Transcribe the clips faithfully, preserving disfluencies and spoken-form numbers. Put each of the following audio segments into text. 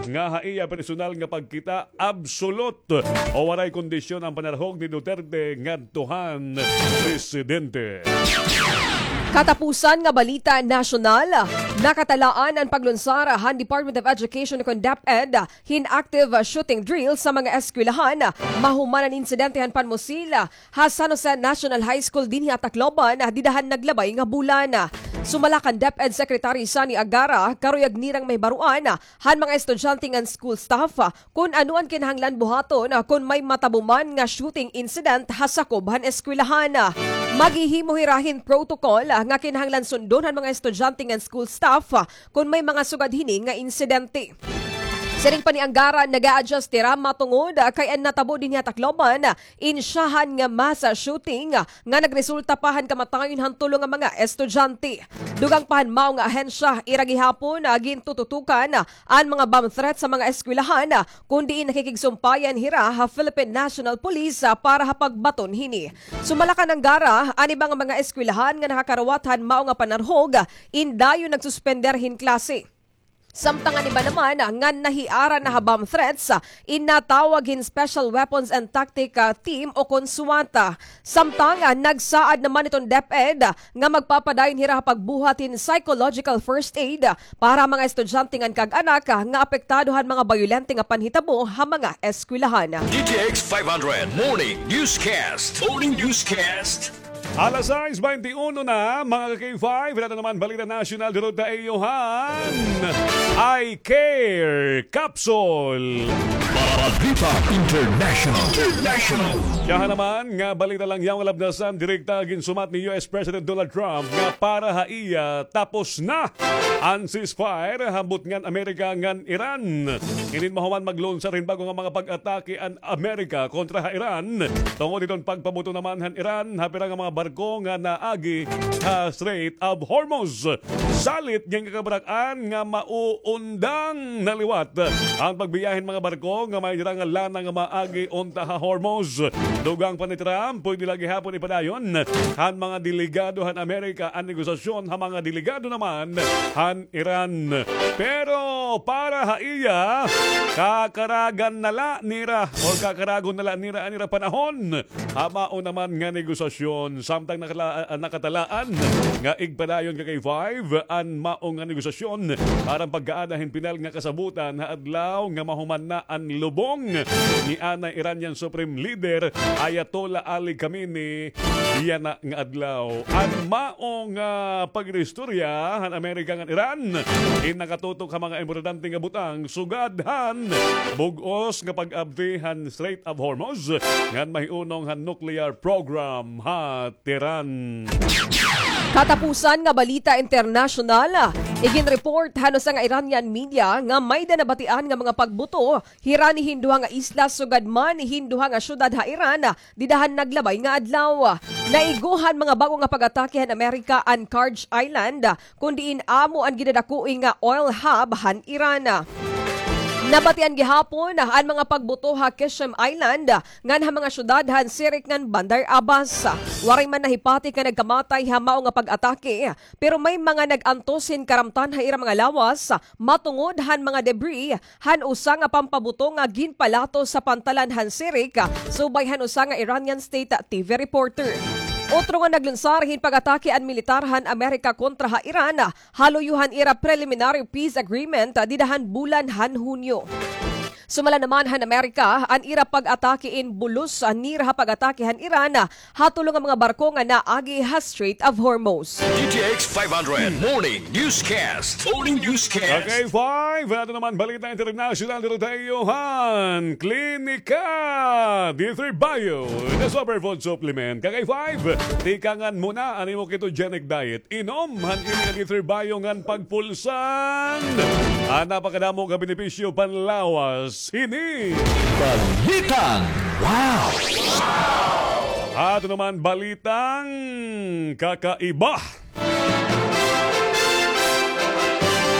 nga ha iya personal nga pagkita, absolute o waray kondisyon an panarhog ni Duterte ngadto han presidente. Katapusan nga balita nasyonal, nakatalaan an paglunsar han Department of Education kon DepEd hin active shooting drill sa mga eskwelahan. Mahuman an insidente han panmusil ha San Jose National High School dinhi ha Tacloban, dida han naglabay nga bulan. Sumala kan DepEd Secretary Sonny Agara, karuyag nirang mahibaroan han mga estudyante ngan school staff kon ano an kinahanglan buhaton kon may matabo man nga shooting incident ha sakob han eskwelahan. Maghihimo hira hin protocol nga kinahanglan sundon han mga estudyante ngan school staff kon may mga sugad hini nga insidente. Siring pa ni Angara, nag-a-adjust hira matungod kay an natabo dinhi ha Tacloban, insyahan nga mass shooting nga nagresulta pa han kamatayon han tulo nga mga estudyante. Dugang pa han mao nga ahensya, ira gihapon, ah, gintututukan an mga bomb threat sa mga eskwelahan, kun diin nakikigsumpayan hira ha Philippine National Police, ah, para ha pagbaton hini. Sumala kan Angara, an iba nga mga eskwelahan nga nakakarawat han mao nga panarhog, in dayon nagsuspender hin klase. Samtang an iba naman nga nahiara na ha bomb threats, in natawag hin Special Weapons and Tactic, ah, Team o kon SWAT. Samtang, ah, nagsaad naman iton DepEd, ah, nga magpapadayon hira ha pagbuhat hin psychological first aid, ah, para ha mga estudyante ngan kag-anak, ah, nga apektado han mga bayolente nga panhitabo ha mga eskwelahan. D T X five hundred Morning Newscast. Morning Newscast. Alas sais baynte uno na, mga ka-K five, ito naman balita nasyonal, durot ta iyo han Eye Care Capsule. Balita International. International. Siyahan naman nga balita la yaon, labnasan, direkta ginsumat ni U S President Donald Trump nga para ha iya tapos na an ceasefire ha butngan Amerika ngan Iran. Inin mahuman maglunsar hin bag-o nga mga pag-atake an Amerika kontra ha Iran tungod hiton pagpabuto naman han Iran ha pira nga mga barko nga naagi ha Strait of Hormuz. Salit nga kabrak-an nga mauundang na liwat an pagbiyahe hin mga barko nga may dara nga lana nga maagi unta ha Hormuz. Dugang pa ni Trump, pwede la gihapon ipadayon han mga delegado han Amerika an negosasyon ha mga delegado naman han Iran. Pero para ha iya, kakaragan na la nira o kakaragon na la nira an ira panahon ha mao naman nga negosasyon, samtang nakala-, ah, nakatalaan nga igpadayon ka-K five an mao nga negosasyon aron pag-aada hin pinal nga kasabotan ha adlaw nga mahuman na an lubong ni anay Iranian Supreme Leader Ayatollah Ali Khamenei yana nga adlaw. An mao nga pag-istorya han Amerika ngan Iran in nakatutok ha mga importante nga butang sugad han bug-os nga pag-abri han Strait of Hormuz ngan mahiunong han nuclear program ha Tehran. Katapusan nga balita internasyonal, iginreport han usa nga Iranian media nga may-da nabatian nga mga pagbuto hirani hin duha nga isla sugad man hin duha nga syudad ha Iran, dida han naglabay nga adlaw. Naigo han mga bag-o nga pag-atake han Amerika an Karj Island, kun diin amo an gidadakoi nga oil hub han Iran. Nabatian gihapon an mga pagbuto ha Qeshm Island ngan ha mga syudad han Sirik ngan Bandar Abbas. Waray man nahipati nga nagkamatay ha mao nga pag-atake, pero may mga nag-antos hin karamtan ha ira mga lawas matungod han mga debris han usa nga pampabuto nga ginpalatos sa pantalan han Sirik, subay han usa nga Iranian state T V reporter. Otro nga naglunsar hin pag-atake an militar han Amerika kontra ha Iran, ha luyo han ira preliminary peace agreement, dida han bulan han Hunyo. Sumala naman han Amerika, an ira pag-atake in bulos nira ha pag-atake han Iran ha tulo nga mga barko nga naagi ha Strait of Hormuz. D T X five hundred Morning Newscast. Morning Newscast. Ka-K five, ato naman balita international dito tayo han Klinika D three Bio. The Superfood Supplement. Ka-K five, tikangan mo na an imo ketogenic diet. Inom han Klinika D three Bio ngan pagpulsan an napakadamo nga benepisyo panlawas. Hini. Balitang wow! Ato naman balitang kakaiba.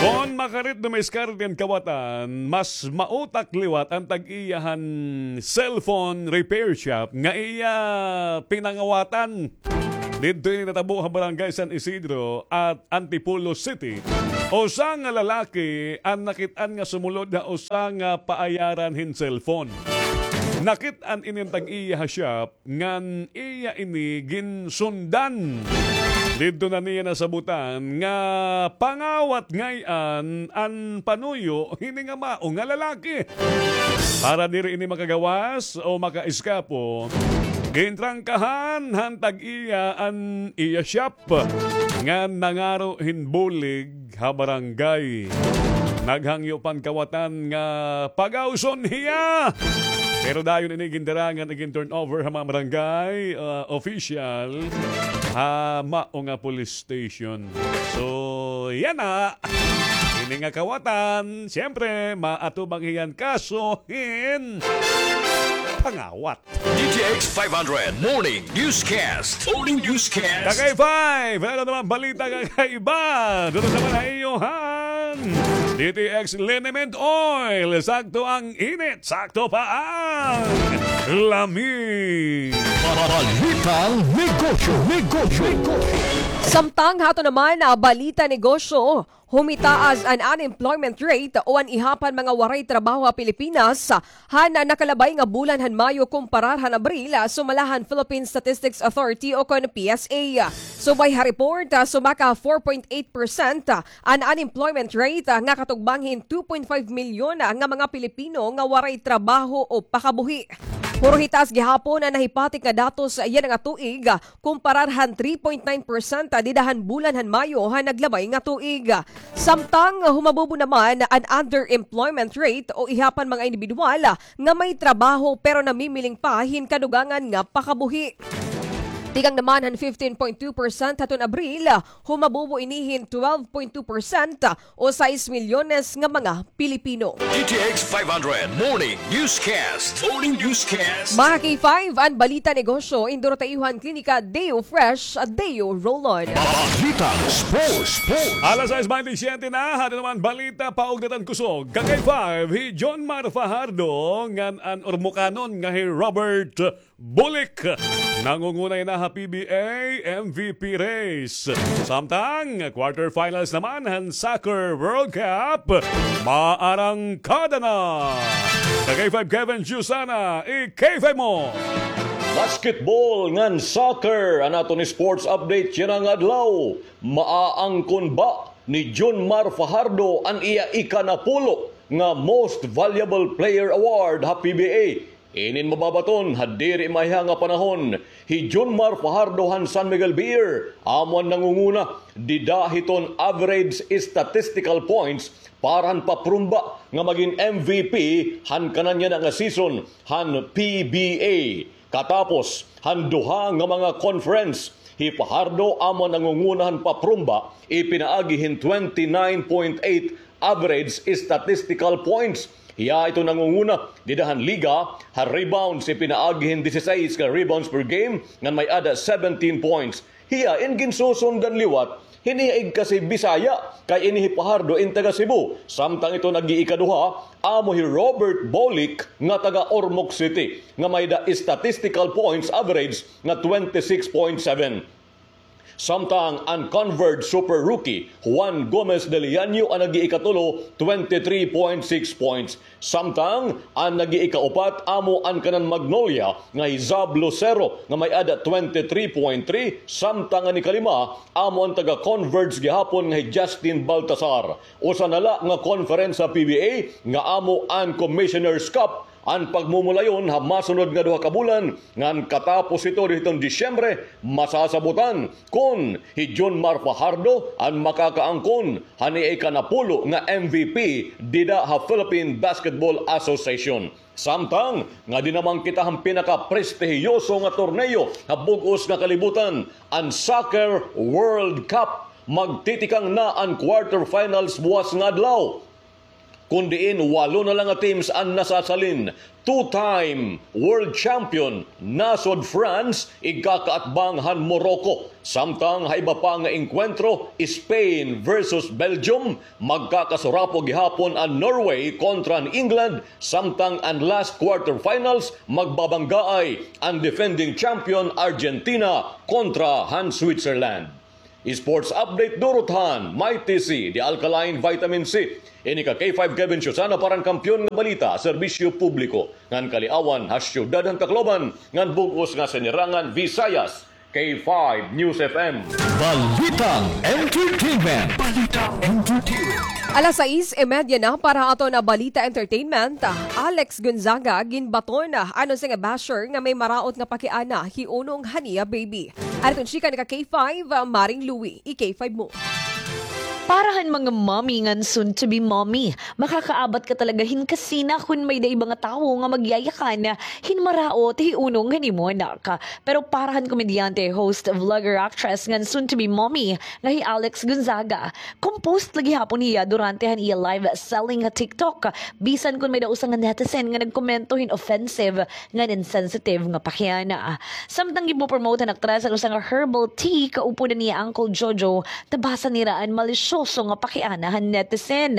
Kon makarit dumiskarte an kawatan, mas mautak liwat an tag-iya han cellphone repair shop nga iya pinangawatan. Didto ini natabo ha Barangay San Isidro at Antipolo City. Usa nga lalaki an nakit-an nga sumulod ha usa nga paayaran hin cellphone. Nakit-an ini an tag-iya ha shop ngan iya ini ginsundan. Didto na niya nasabutan nga pangawat ngay-an an panuyo hini nga mao nga lalaki. Para diri ini makagawas o makaeskapo, gintrangkahan han tag-iya an iya shop ngan nangaro hin bulig ha barangay. Naghangyo pa an kawatan nga pagawson hiya. Pero dayon ini gindara ngan igin-turn over ha mga barangay, ah, official ha mao nga police station. So, yana. Ini nga kawatan, siyempre, maatubang hiya han kaso hin pangawat. D T X five hundred Morning Newscast. Morning Newscast. Kakay five, ano naman balita, kakaiba? Dito naman ha iyo han D T X Liniment Oil. Sakto ang init, sakto pa ang lami. Balitang negosyo, negosyo, negosyo. Samtang ha aton naman, ah, balita negosyo, humitaas an unemployment rate o an ihap han mga waray trabaho ha Pilipinas han nakalabay nga bulan han Mayo kumparar han Abril, sumala han Philippine Statistics Authority o kon P S A. Subay ha report, sumaka four point eight percent an unemployment rate nga katugbang hin two point five milyon nga mga Pilipino nga waray trabaho o pakabuhi. Puro hitaas gihapon an nahipatik nga datos yana nga tuig, kumparar han three point nine percent dida han bulan han Mayo han naglabay nga tuig. Samtang humabubo naman an underemployment rate o ihap han mga indibidwal nga may trabaho pero namimiling pa hin kadugangan nga pakabuhi. Tikang naman han fifteen point two percent haton Abril, humabubo ini hin twelve point two percent o sais milyones nga mga Pilipino. D T X five hundred Morning Newscast. Morning Newscast. Mga K five, an balita negosyo, indoro ta iyo han Klinika Deo Fresh, Deo Roll-On. Balitang sports, sports. Alas sais baynte siyete na, haton naman balita paugnatan kusog. Kakay five, hi John Mar Fajardo ngan an Ormocanon nga hi Robert Bulik. Nangungunay na ha P B A M V P race. Samtang quarterfinals naman han Soccer World Cup, maarangkada na. Kakay five Kevin Jusana, i-K five mo. Basketball ngan soccer, an aton sports update yana nga adlaw. Maaangkon ba ni Junmar Fajardo an iya ikanapulo nga Most Valuable Player Award ha P B A? Inin mababaton ha diri maiha nga panahon. Hi Junmar Fajardo han San Miguel Beer, amo an nangunguna dida hiton average statistical points para han paprumba nga magin M V P han kanan yana nga season han P B A. Katapos han duha nga mga conference, hi Fajardo amo an nangunguna han paprumba, ipinaagi hin twenty-nine point eight average statistical points. Hiya ito nangunguna dida han liga ha rebounds, ipinaagi hin disisais ka rebounds per game ngan may-ada seventeen points. Hiya in ginsusundan liwat hin iya igkasi Bisaya, kay ini hi Fajardo in taga Cebu. Samtang ito nag-iikaduha, amo hi Robert Bolic nga taga Ormoc City, nga may-ada statistical points average nga twenty-six point seven. Samtang an Converd Super Rookie, Juan Gomez de Leaño, an nag-iikatulo, twenty-three point six points. Samtang an nag-iikaupat amo an kanan Magnolia nga hi Zab Lucero nga may-ada twenty-three point three, samtang an ikalima amo an taga-Converge gihapon nga hi Justin Baltasar. Usa na la nga conference sa P B A nga amo an Commissioner's Cup, an pagmumulayon ha masunod nga duha ka bulan, ngan katapos ito hiton Disyembre, masasabutan kon hi Junmar Fajardo an makakaangkon han iya ikanapulo nga M V P dida ha Philippine Basketball Association. Samtang nga dinamang kita han pinakaprestihiyoso nga torneo ha bug-os nga kalibutan, an Soccer World Cup. Magtitikang na an quarterfinals buwas nga adlaw. Kun diin walo na la nga teams an nasasalin, two-time world champion nasod France igkakaatbang han Morocco. Samtang ha iba pa nga engkwentro, Spain versus Belgium, magkakasurapo gihapon an Norway kontra an England, samtang an last quarterfinals magbabanggaay an defending champion Argentina kontra han Switzerland. Sports update durot han Mighty C, the alkaline vitamin C. Ini ka K five Kevin Susana para han Kampiyon nga Balita, Serbisyo Publiko, ngan Kaliawan ha Syudad han Tacloban, ngan bug-os nga Sinirangan Visayas, K five News F M. Balitang Entertainment. Balitang Entertainment. Alas sais y media na para aton Balita Entertainment. Alex Gonzaga ginbaton an usa nga basher nga may maraot nga pakiana hi unong han iya baby. Adton chika na ka K five, ah, Maring Louie, i-K five mo. Para han mga mommy ngan soon to be mommy, makakaabat ka talaga hin kasina kun may-ada iba nga tawo nga magyayakan hin maraot hi unong han imo anak. Pero para han komedyante, host, vlogger, actress ngan soon to be mommy nga hi Alex Gonzaga, composed la gihapon hiya durante han iya live selling ha TikTok, bisan kun may-ada usa nga netizen nga nagkomento hin offensive ngan insensitive nga pakiana. Samtang ginpopromote han aktres an usa nga herbal tea kaupo han iya Uncle Jojo, nabasa nira an malisyoso nga pakiana han netizen.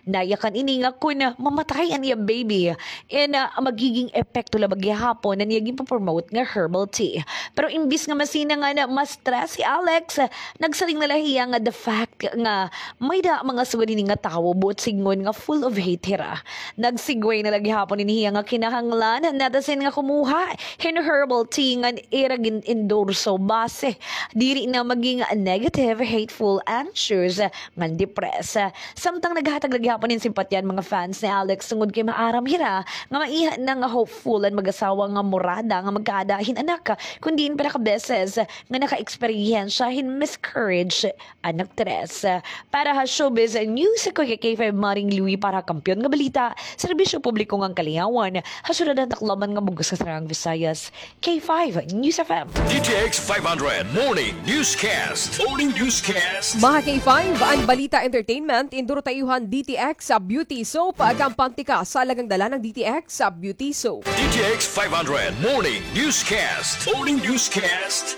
Nayakan ini nga kun mamatay an iya baby, in, ah, magiging epekto la ba gihapon an iya ginpopromote nga herbal tea. Pero imbis nga masina ngan ma-stress hi Alex, nagsiring na la hiya nga the fact nga may-ada mga sugad hini nga tawo buot sidngon nga full of hate hira. Nag-segue na la gihapon ini hiya nga kinahanglan han netizen nga kumuha hin herbal tea ngan ira gin-endorso basi diri na maging negative, hateful, anxious, ngan depressed. Samtang naghatag la gihapon hin simpatya an mga fans ni Alex tungod kay maaram hira nga maiha na nga hopeful an mag-asawa nga murada nga magkaada hin anak, kun diin pira ka beses nga naka-eksperyensya hin miscarriage an aktres. Para ha Showbiz News, ako hi K five Maring Louie para ha Kampiyon nga Balita, Serbisyo Publiko ngan Kaliawan, ha syudad han Tacloban ngan bug-os nga Sinirangan Visayas, K five News F M. D T X five hundred Morning Newscast. Morning Newscast. Mga K five, an balita entertainment, induro ta iyo han D T X Beauty Soap, kampante ka sa alagang dala ng D T X Beauty Soap. D T X five hundred Morning Newscast. Morning Newscast.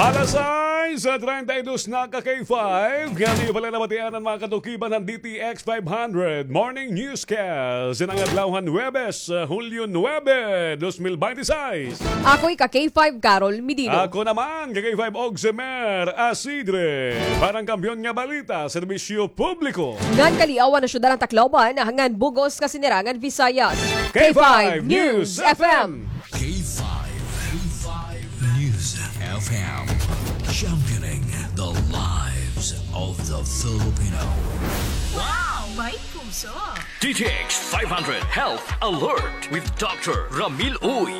Alas sais treinta y dos na ka K five. Kaya niyo pala nabatian an mga katukiban ng D T X five hundred Morning Newscast. Sa adlaw han Huwebes, uh, Hulyo nuebe, dos mil bente y seis. Ako hi ka K five Carol Medino. Ako naman, ka K five Oximer Asidre. Para han Kampiyon nga Balita, Serbisyo Publiko ngan Kaliawan ha syudad han Tacloban, ngan bug-os nga Sinirangan Visayas, K five News F M. K five, K five News F M. Championing the lives of the Filipino. Wow! May puso! D T X five hundred Health Alert with Doctor Ramil Uy.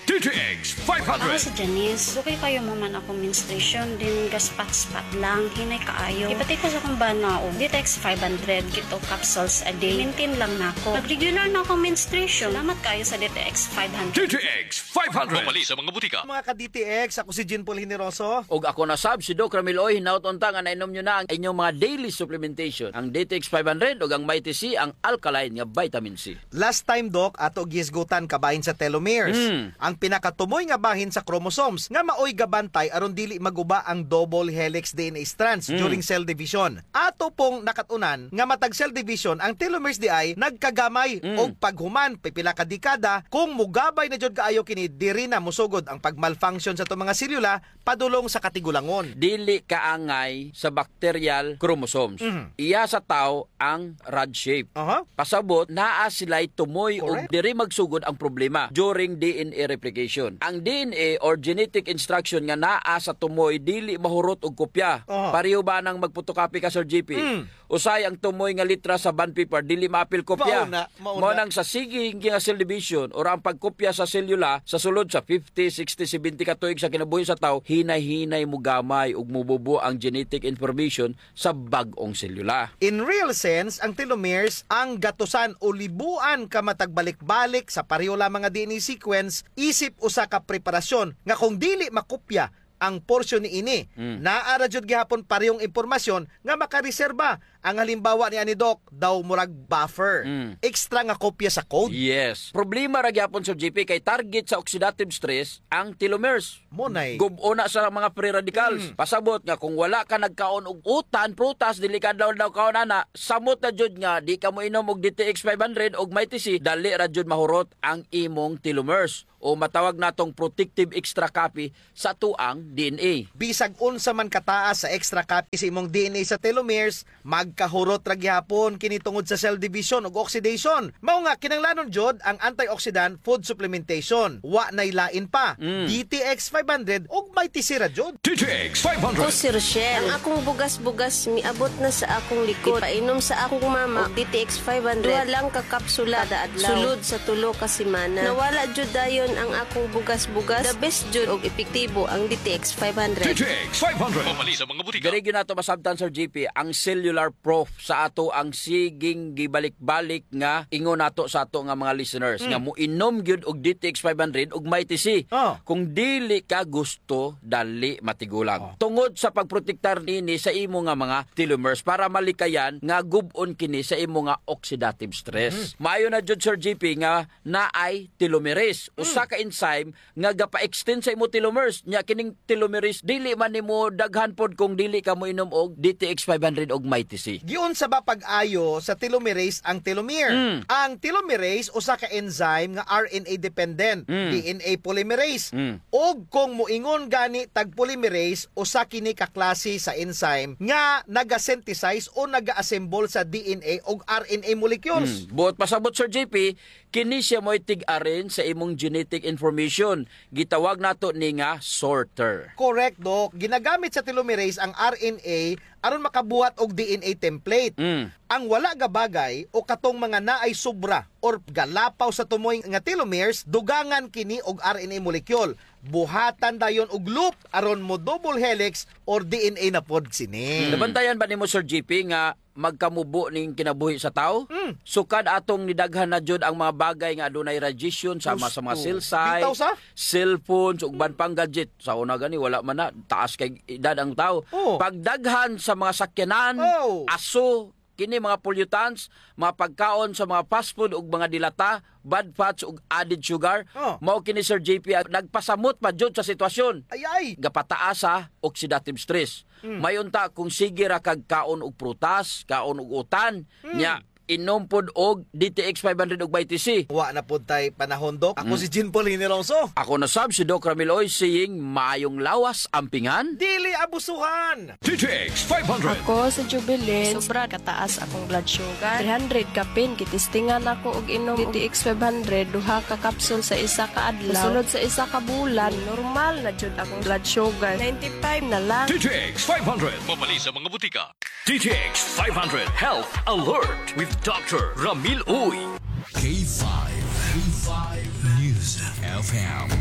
D T X five hundred. Ako si Janice. Dugay kaayo mahuman akon menstruation, then gaspat-spat lang, hinay kaayo. Ipati ko sa akon bana og D T X five hundred, two capsules a day. Maintain lang nako. Nag-regular na akon menstruation. Salamat kaayo sa D T X five hundred. D T X five hundred. Mapalit sa mga butika. Mga ka-D T X, ako si Jean Paul Generoso. Ug ako na sab, si Doc Ramil Uy, hinaot unta nga nainom niyo na ang inyong mga daily supplementation, ang D T X five hundred ug ang Mighty C, ang alkaline nga vitamin C. Last time, Doc, ato gihisgutan kabahin sa telomeres. Mm. Ang pinakatumoy nga bahin sa chromosomes nga maoy gabantay aron dili maguba ang double helix D N A strands, mm, during cell division. Ato pong nakat-unan nga matag cell division ang telomeres diay nagkagamay, mm, og paghuman pipila ka dekada, kung mugabay na jud kaayo kini, diri na mosugod ang pag-malfunction sa ato mga selula padulong sa katigulangon. Dili kaangay sa bacterial chromosomes. Mhm. Iya sa tawo ang rod shape. Aha. Pasabot, naa sila'y tumoy ug, correct, diri magsugod ang problema during D N A replication. Ang D N A or genetic instruction nga naa sa tumoy dili mahurot og kopya. Aha. Pareho ba nang magpotocopy ka, Sir J P? Mm. Usahay ang tumoy nga litra sa bond paper, dili maapil kopya. Mao na, mao na. Mao nang sa sige nga cell division or ang pagkopya sa selula sa sulod sa fifty, sixty, seventy ka tuig sa kinabuhi sa tawo, hinay-hinay mogamay ug mobubo ang genetic information sa bag-ong selula. In real sense, ang telomeres ang gatusan o libuan ka matag balik-balik sa pareho lamang nga D N A sequence isip usa ka preparasyon nga kung dili makopya, ang porsyon niini. Mm. Naa ra jud gihapon parehong impormasyon nga makareserba. Ang halimbawa niani, Doc, daw murag buffer. Mm. Extra nga kopya sa code. Yes. Problema ra gihapon, Sir G P, kay target sa oxidative stress ang telomeres. Mo nay. Gub-on na sa mga free radicals. Mm. Pasabot nga kung wala ka nagkaon og utan, prutas, dili ka daw, daw kaon ana, samot na jud nga di ka moinom og D T X five hundred og Mighty C, dali ra jud mahurot ang imong telomeres. O matawag natong protective extra copy sa atoang D N A. Bisag unsa man kataas sa extra copy sa imong D N A sa telomeres, magkahurot ra gihapon kini tungod sa cell division ug oxidation. Mao nga, kinahanglanon jud ang antioxidant food supplementation. Wa nay lain pa. Mm. D T X five hundred ug Mighty C ra jud. D T X five hundred. Ako si Rochelle. Ang akong bugas-bugas miabot na sa akong likod. Ipainom sa akong mama og D T X five hundred. Duha lang ka kapsula kada adlaw. Sulod sa tulo ka semana. Nawala jud dayon ang akong bugas-bugas. The best jud og epektibo ang D T X five hundred. D T X five hundred. Mamalit sa mga butika. Diri gyud nato masabtan, Sir G P, ang cellular proof sa atoang siging gibalik-balik nga ingon nato sa ato nga mga listeners, mm, nga moinom gyud og D T X five hundred ug Mighty C. Oh. Kung dili ka gusto, dali matigulang. Oh. Tungod sa pagprotektar nini sa imo nga mga telomeres para malikayan nga gub-on kini sa imo nga oxidative stress. Mm. Maayo na jud, Sir G P, nga naay telomerase, mm, usa ka enzyme nga gapa-extend sa imo telomeres. Nya kining telomerase, dili man nimo daghan pod kung dili ka moinom og D T X five hundred og Mighty C. Giunsa ba pag-ayo sa telomerase ang telomere? Mm. Ang telomerase usa ka enzyme nga R N A dependent, mm, D N A polymerase. Mm. Ug kung moingon gani tag polymerase, usa kini ka klase sa enzyme nga naga-synthesize o naga-assemble sa D N A ug R N A molecules. Mm. Buot pasabot, Sir G P, kini siya mao'y tig-arrange sa imong genetic information. Gitawag nato ni nga sorter. Correct, Doc. Ginagamit sa telomerase ang R N A aron makabuhat og D N A template. Mm. Ang wala gabagay o katong mga naay sobra or galapaw sa tumoy nga telomeres, dugangan kini og R N A molecule. Buhatan dayon og loop aron mo double helix or D N A na pod sini. Mm. Nabantayan ba nimo, Sir G P, nga magkamubo ning kinabuhi sa tawo? Mm. Sukad atong nidaghan na jud ang mga bagay nga adunay radiation, sama sa mga, sus, cell site, bitaw sa cellphones, ug uban pang gadget. Sa una gani, wala man na, taas kay edad ang tawo. Oh. Pagdaghan sa mga sakyanan, oh, aso, kini mga pollutants, mga pagkaon sa mga fast food ug mga dilata, bad fats ug added sugar. Oh. Mao kini, Sir J P, ang nagpasamot pa jud sa sitwasyon. Ay, ay. Gapataas sa oxidative stress. Mm. May unta kung sige ra kag kaon og prutas, kaon og utan, mm, nya inom pod og D T X five hundred ug Mighty C. Wa na pod tay panahon, Doc. Ako, mm, si Jean Paul Hiniroso. Ako na sab si Doc Ramil Oy, saying, maayong lawas, ampingan. Dili abusuhan. D T X five hundred. Ako si Jubilin. Sobra kataas akong blood sugar. Three hundred kapin, gitistingan ako og inom D T X five hundred, duha ka kapsul sa isa ka adlaw. Sulod sa isa ka bulan, normal na jud akong blood sugar. Ninety-five na lang. D T X five hundred. Mabali sa mga butika. D T X five hundred Health Alert with Doctor Ramil Uy. K five, K five News F M,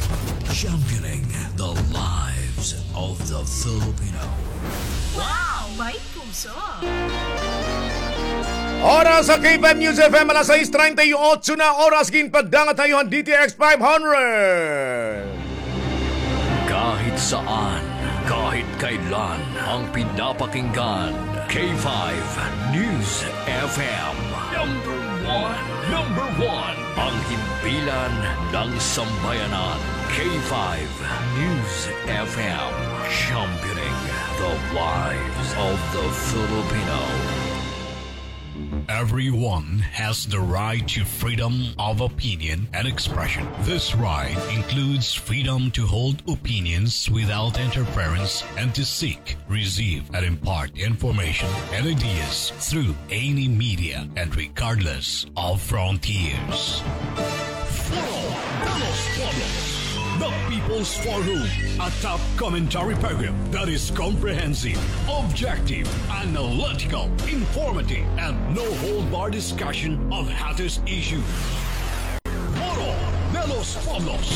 championing the lives of the Filipino. Wow! May puso! Oras sa K five News F M, alas sais treinta y ocho na oras, ginpaddangat ha iyo han D T X five hundred. Kahit saan, kahit kailan, ang pinapakinggan, K five News F M. Number one, number one, ang himpilan ng sambayanan, K five News F M, championing the lives of the Filipino. Everyone has the right to freedom of opinion and expression. This right includes freedom to hold opinions without interference and to seek, receive, and impart information and ideas through any media and regardless of frontiers. Foro de los Pueblos, the People's Forum, a top commentary program that is comprehensive, objective, analytical, informative, and no-hold-bar discussion of hottest issues. Foro de los Pueblos.